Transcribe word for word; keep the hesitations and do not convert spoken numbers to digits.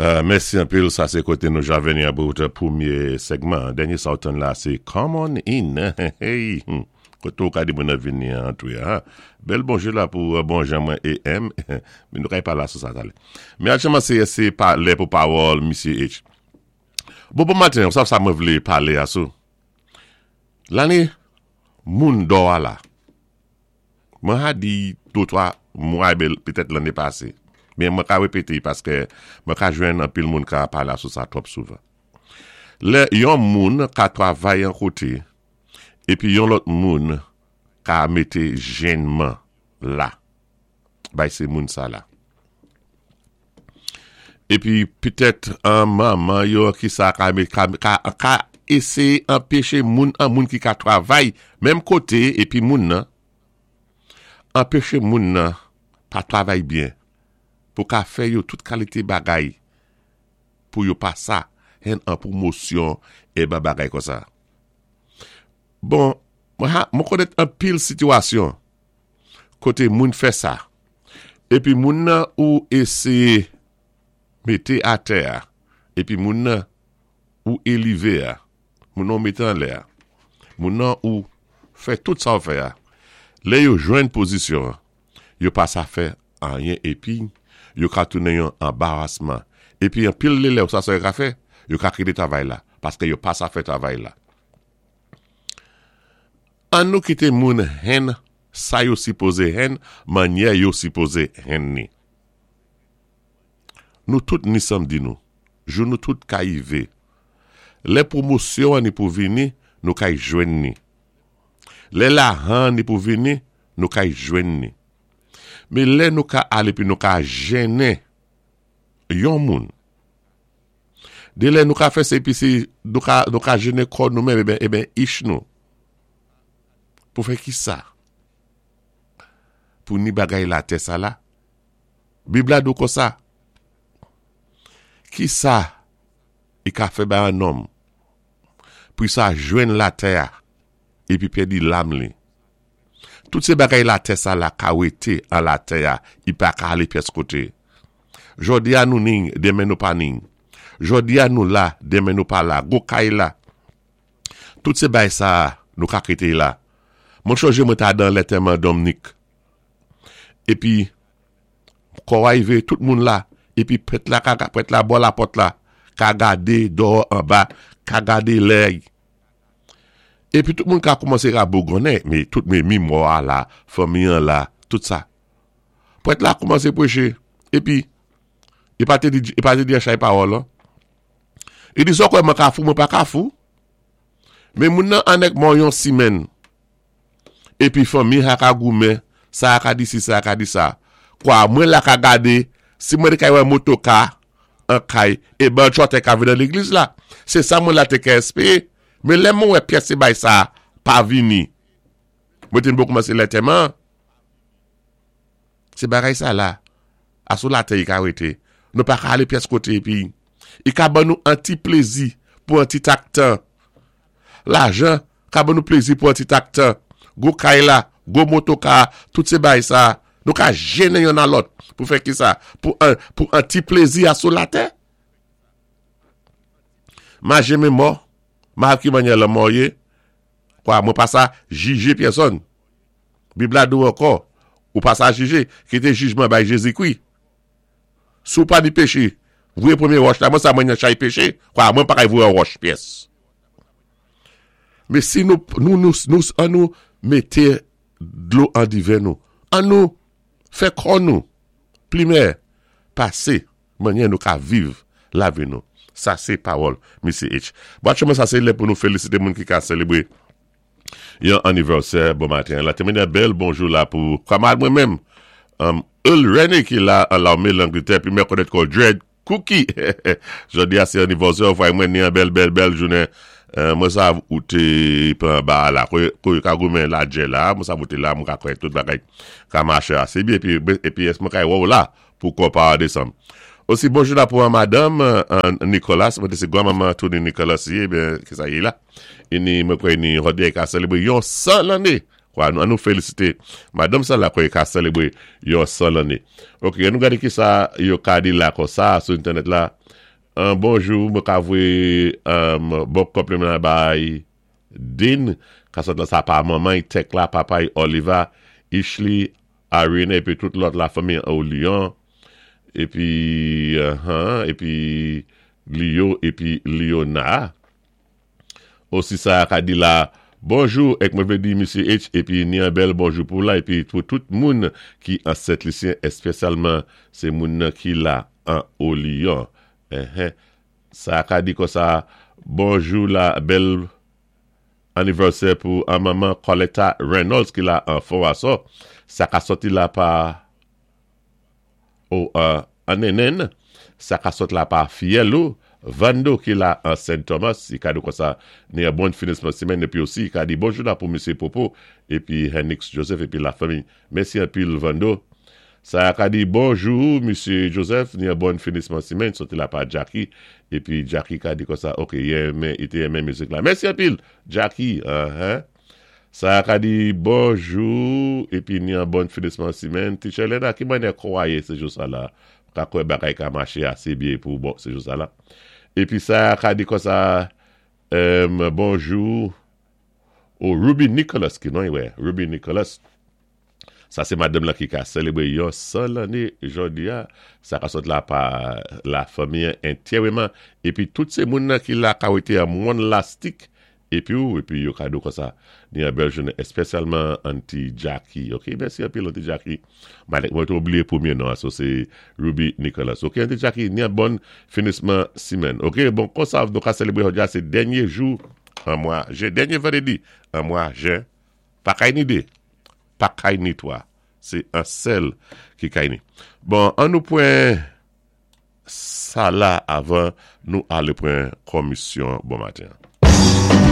Euh, mèsi anpil, sa sé koté nou ja vini about pwémyé segman. Dènyé sa ou tann la, sé Come On In. Hey, koté ou ka di moun vini antwé. Ha? Bèl bonjou la pou bon jan mwen A M. Mé nou kay pa la sou sa talè. Mé aktyèlman sé sé pa lè pou pawòl Misye H. Bon bon maten, sa sa mwen vlé palé asou. Lanné moun dò a la. Mwen ha di dé twa mwa petèt lanné pasé. Mé mwen ka wépété paské mwen ka jwenn anpil moun ka palé sou sa twòp souvan. Lè yon moun ka twavay an koté épi yon lòt moun ka mété jènman la. Bay sé moun sa la. Épi petèt an manman yo ki sa ka, ka, ka, ka éséyé anpéché moun an moun ki ka twavay menm koté épi moun nan anpéché moun nan pa twavay byen pou ka fè yo tout kalité bagay pou yo pa sa hen an pwomosyon é ba bagay kon sa. Bon, mwen konnèt anpil sitiyasyon koté moun fè sa. Épi moun nan ou éséyé mété atè a, épi moun nan ou élévé a, moun nan mété an lè a, moun nan ou fè tout sa ou fè a, lè yo jwenn pozisyon, yo pa sa fè anyen épi yo ka tounen yon anbarasman. Épi anpil lè lè ou sa sa yo ka fè, yo ka kité travay la, paské yo pa sa fè travay la. An nou kité moun hen, sa yo sipozé hen, mannyè yo sipozé hen ni. Nou tout ni samdi nou, jou nou tout ka yivé. Lè pwomosyon ni pou vini, nou kay jwenn ni. Lè lajan ni pou vini, nou kay jwenn ni. Mé lè nou ka alé pi nou ka jennen yon moun. Dé lè nou ka fè sé pi si nou ka, nou ka jennen kò nou menm, eben, eben ich nou. Pou fè ki sa? Pou ni bagay latè sa la? Bib la di kon sa. Ki sa i ka fè bay an nonm pou sa jwenn latè a épi pèdi lam li? Tout sé bagay latè sa la ka wété an latè a, i pa ka alé pyès koté. Jòdi a nou ning, denmen nou pa ning. Jòdi a nou la, denmen nou pa la. Gwo kay la. Tout sé bay sa nou ka kité la. Mwen chonjé mwen ta dan lantèman Dominique. Épi, kò arivé, tout moun la, épi prèt la, ka, prèt la bò lapòt la, ka gadé dò anba, ka gadé lè. Épi tout moun ka koumansé ka bougonnen, mé tout mé mi mò a la, fanmi an la, tout sa. Prèt la koumansé pwéché, épi, i pa té di, i pa té di an chay pawòl, an. I di, "So kwè mwen ka fou, mwen pa ka fou. Mé moun nan annèk mò yon simenn. Épi fanmi ha ka goumen, sa ka di si, sa ka di sa. Kwa, mwen la ka gadé, si mwen té kay wè motoka, an kay, é ban chòtè ka vin nan légliz la. Sé sa mwen la té ka espéwé. Mé lè mwen wè pyès sé bay sa pa vini. Mwen té bon koumansé lantèman. Sé bagay sa la. Asou latè i ka wété. Nou pa ka alé pyès koté épi. I ka ban nou an ti plézi pou an ti tak tan. Lajan ka ban nou plézi pou an ti tak tan. Gwo kay la, gwo motoka, tout sé bay sa. Nou ka jennen youn a lòt pou fè ki sa? Pou an, pou an ti plézi asou latè. Ma jenmen mò, ma ki mannyè lanmò yé, kwa mwen pa sa jijé pèsonn. Bib la di ankò, ou pa sa jijé, kité jijman bay Jézikwi. Si ou pa ni péché, voyé pwémyé wòch la, mwen sa mwen yon chay péché, kwa mwen pa kay voyé wòch pyès. Mé si nou, nou, nou, nou, an nou mété dlo an diven nou, an nou fè kò nou, plimè, pasé, mannyè nou ka viv lavi nou. Sa sé pawòl Misye H. Bon, aktyèlman sa sé lè pou nou félisité moun ki ka sélébré yon anivèsè bon maten. La témèn bèl bonjou la pou kamarad mwen menm, um, Earl René ki la an lamé Langletè, pi mwen konnèt kon Dread Cookie. Jòdi a sé anivèsè, fwa mwen ni an bèl bèl bèl jounen. Euh, mwen sa ou té pran ba la, ko ko ka goumen la djè la, mwen sa ou té la, mwen ka kwè tout bagay ka maché asé byen, épi épi ès mwen ka wè ou la pou konpa désanm. Osi bonjou la pou an madame euh, Nicolas, mwen sé gwan-manman Tony Nicolas yé, ben ki sa yé la. Ini mwen kwè ni jòdi ka sélébré yon san lanné. Kwa, nou, an nou félisité madame sa la kwè ka sélébré yon san lanné. Ok, an nou gadé ki sa yo ka di la kon sa sou entènèt la. Un bonjou, mwen ka voyé um, bon konpliman bay Dean, ka sot la sa pa manman, Tekla, papa Oliver, Ishli, Arena, épi tout lòt la fanmi au Lyon, épi, uh épi Leo, épi Leona. Osi sa ka di la, bonjou, èk mwen vlé di Misye H, épi ni an bèl bonjou pou la, épi pou tout moun ki an Sent-Lisyen, èspesyalman sé moun nan ki la an au Lyon. Uh Sa ka di kon sa, bonjou la bèl anivèsè pou an manman Coletta Reynolds ki la an Fort. Sa ka soti la pa ou uh, an nenen, sa ka sot la pa Fielou, Vando ki la an Saint Thomas, i ka di kon sa, ni an bon finisman simèn, épi osi, i ka di bonjou la pou Misye Popo, épi Henix Joseph, épi la fanmi. Mèsi anpil Vando. Sa ka di bonjou, Misye Joseph, ni an bon finisman simèn, soti la pa Jackie, épi Jackie ka di kon sa, ok, yè, i té renmen mizik la. Mèsi anpil, Jackie, uh -huh. Sa ka di bonjou, épi ni an bon finisman simèn. Teacher Lena, ki mannyè kwaye sé jou sa la? Ka kwè bagay ka maché asé byen pou bon sé jou sa la. Épi sa ka di kon sa, um, bonjou, ou Ruby Nicholas ki non wè, Ruby Nicholas. Sa sé madanm la ki ka sélébwé yon san lanné jòdi a, sa ka sot la pa la fanmi antyèman, épi tout sé moun nan ki la ka wété an moun lastik, épi ou, épi yo kado kon sa, ni an bèl jounen, èspesyalman Auntie Jackie, ok, mèsi anpil Auntie Jackie, mwen mwen te oubliyé pwémyé non, so sé Ruby Nicholas, ok, Auntie Jackie, ni an bon finisman simèn, ok, bon, kon sa nou ka sélébwé jòdi a, sé dènyé jou an mwa jen, dènyé vandédi an mwa jen, pa kay ni dé, pa kay ni twa, sé an sèl ki kay ni. Bon, an nou pwan sa la avan nou alé pwan komisyon bon maten.